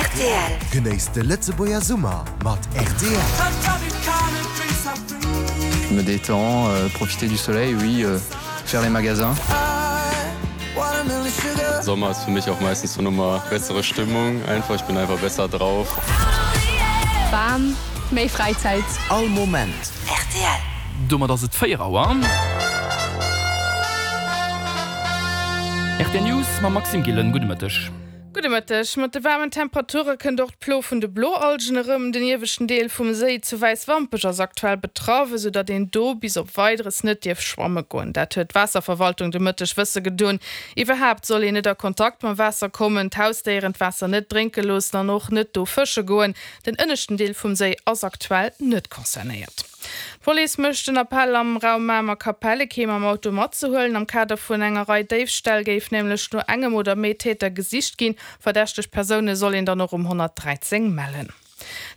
Rtl. Genéisst de Lëtzebuerger Summer mat rtl. Je me détends, profiter du soleil, oui, faire les magasins. Sommer ist für mich auch meistens so nochmal bessere Stimmung einfach, ich bin einfach besser drauf. Waarm, méi Fräizäit. All Moment. Rtl. Domat ass et 4 Auer. Rtl News mam Maxime Gillen. Gudde Mëtteg. Gudde Mëtteg. Mat de waarmen Temperature kënnt och d'Plo vun de Bloalgen erëm. Den ieweschten Deel vum Séi zu Wäiswampech ass aktuell betraff, esou datt een do bis op Weideres net dierf schwamme goen. Dat huet d'Waasserverwaltung de Mëtteg wësse gedoen. Iwwerhaapt soll een net a Kontakt mam Waasser kommen, d'Hausdéieren d'Waasser net drénke loossen an och net do fësche goen. Den ënneschten Deel vum Séi ass aktuell net concernéiert. D'Police mécht den Appell am Raum Mamer-Kapelle kee mam Auto matzehuelen. Am Kader vun enger Rei Déifställ géif nämlech no engem oder méi Täter gesicht ginn. Verdächteg Persoune soll een dann och um 113 mellen.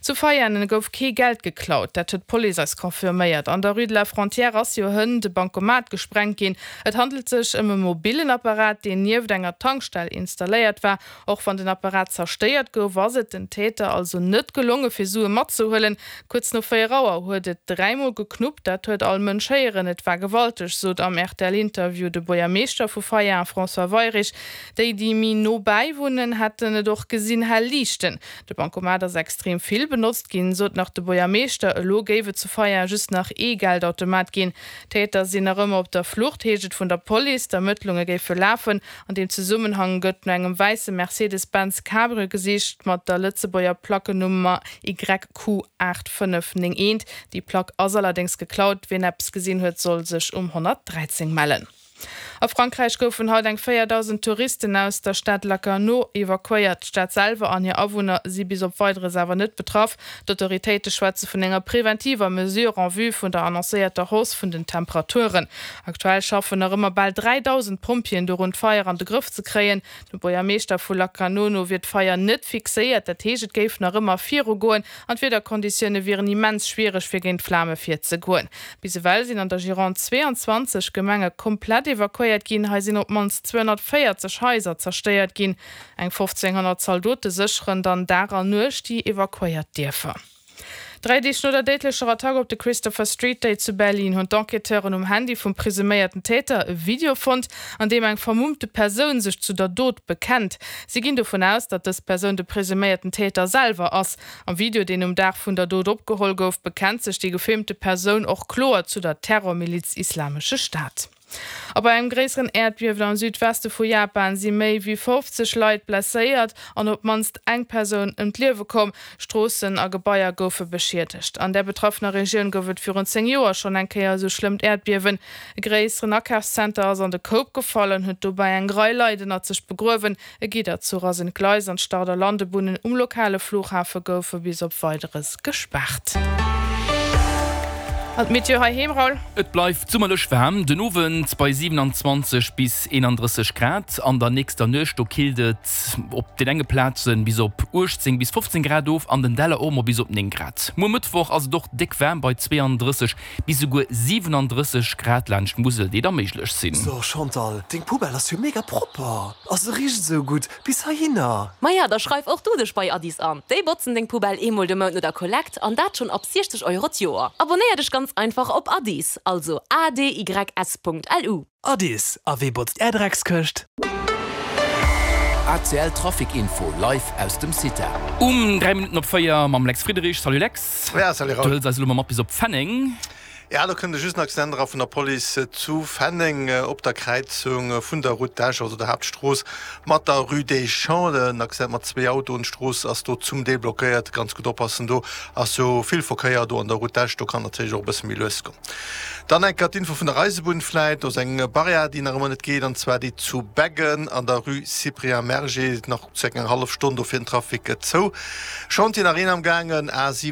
Zu Veianen gouf kee Geld geklaut, dat huet d'Police eis confirméiert. An der Rue de la Frontière ass jo hënt e Bankomat gesprengt ginn. Et handelt sech ëm e mobillen Apparat, deen nieft enger Tankstell installéiert war. Och wann den Apparat zerstéiert gouf, ass et den Täter also net gelonge fir Sue matzehuelen. Kuerz no 4 Auer huet et dräimol geknuppt, dat huet all Mënsch héieren. Et war gewalteg, sot am RTL-Interview de Buergermeeschter vu Feieaen, François Weyrich. Déi, déi méi no bäi wunnen, hätten et och gesinn, hell liichten. De Bancomat ass extrem vill benotzt ginn, sot nach de Buergermeeschter. Elo géif et zu Feieaen just nach ee Geldautomat ginn. D'Täter sinn nach ëmmer op der Flucht, heescht et vun der Police. D'Ermëttlunge géife lafen. An deem Zesummenhang gëtt no engem wäisse Mercedes-Benz Cabrio gesicht mat der Lëtzebuerger Plackenummer YQ8591. Déi Plack ass allerdéngs geklaut. Wien eppes gesinn huet, soll sech um 113 mellen. A Frankräich goufen haut eng 4.000 Touristen aus der Stad Lacanau evakuéiert. D'Stad selwer an hir Awunner si bis op Weideres awer net betraff. D'Autoritéite schwätze vun enger preventiver Mesure en vue vun der annoncéierter Hausse vun den Temperaturen. Aktuell schaffen nach ëmmer bal 3.000 Pompjeeën dorun, d'Feier an de Grëff ze kréien. Dem Buergermeeschter vu Lacanau no wier d'Feier net fixéiert, dat heescht et géif nach ëmmer virugoen an d'Wiederkonditioune wieren immens schwiereg fir géint d'Flame virzegoen. Bis ewell sinn an der Gironde 22 Gemenge komplett evakuéiert ginn. Hei sinn op d'mannst 240 Haiser zerstéiert ginn. Eng 1.500 Zaldote sécheren dann Dag an Nuecht déi evakuéiert Dierfer. Dräi Deeg no der déidlecher Attack op de Christopher Street Day zu Berlin hunn d'Enquêteuren um Handy vum presuméierten Täter e Video fonnt, an deem eng vermummte Persoun sech zu der Dot bekennt. Si ginn dovun aus, datt dës Persoun de presuméierten Täter selwer ass. Am Video, deen um Dag vun der Dot opgeholl gouf, bekennt sech déi gefilmte Persoun och kloer zu der Terrormiliz Islamesche Staat. A bei engem gréisseren Äerdbiewen am Südweste vu Japan si méi wéi 50 Leit blesséiert an op d'mannst eng Persoun ëm d'Liewe komm. Stroossen a Gebaier goufe beschiedegt. An där betraffener Regioun gouf et virun 10 Joer schonn eng Kéier esou schlëmmt Äerdbiewen. E gréisseren Akafszenter ass an de Koup gefall an huet dobäi eng Rei Leit ënnert sech begruewen. E Gidderzuch ass entgleist an d'Start a Landebunnen um lokale Flughafe goufe bis op Weideres gespaart. An d'Meteo heiheem, Raoul? Et bleift summerlech waarm, den Owend bei 27 bis 31 Grad. An der nächster Nuecht do killt et op den enge Plaze bis op 18 bis 15 Grad of, an den Däller och mol bis op 9 Grad. Muer Mëttwoch ass et och déck waarm bei 32 bis esouguer 37 Grad laanscht d'Musel, déi da méiglech sinn. So Chantal, deng Poubelle ass jo mega propper a se richt esou gutt bis heihinner. Maja, da schreif och du dech bei Addis an. Déi botzen deng Poubelle eemol de Mount no der Kollekt an dat schonn ab 60 Euro d'Joer. Abonnéier dech ganz einfach op Addis, also adys.lu. Addis, a wee botzt är Dreckskëscht? ACL Trafic Info live aus dem CITA. Um 3 Minutten op 4 mam Lex Friedrich. Salut Lex. Ja, salut Raoul. Du hëls eis elo mol mat bis op Fenneng. Ja, do kënnt just en Accident era vun der Police zu Fenneng op der Kräizung vun der Route d'Esch, also der Haaptstrooss, mat der Rue des Champs. En Accident mat zwee Autoen. D'Strooss ass do zum Deel blockéiert. Ganz gutt oppassen, do ass jo vill Verkéier do an der Route d'Esch. Do kann natierlech och e bësse méi lues goen. Dann eng Kéier d'Info vun der Eisebunn vläit. Do ass eng Barrière, déi nach ëmmer net geet, an zwar déi zu Beggen an der Rue Cyprien Merger. Nach zirka eng hallef Stonn, do fiert den Trafic zou. Chantier nach een am gaangen, A 7.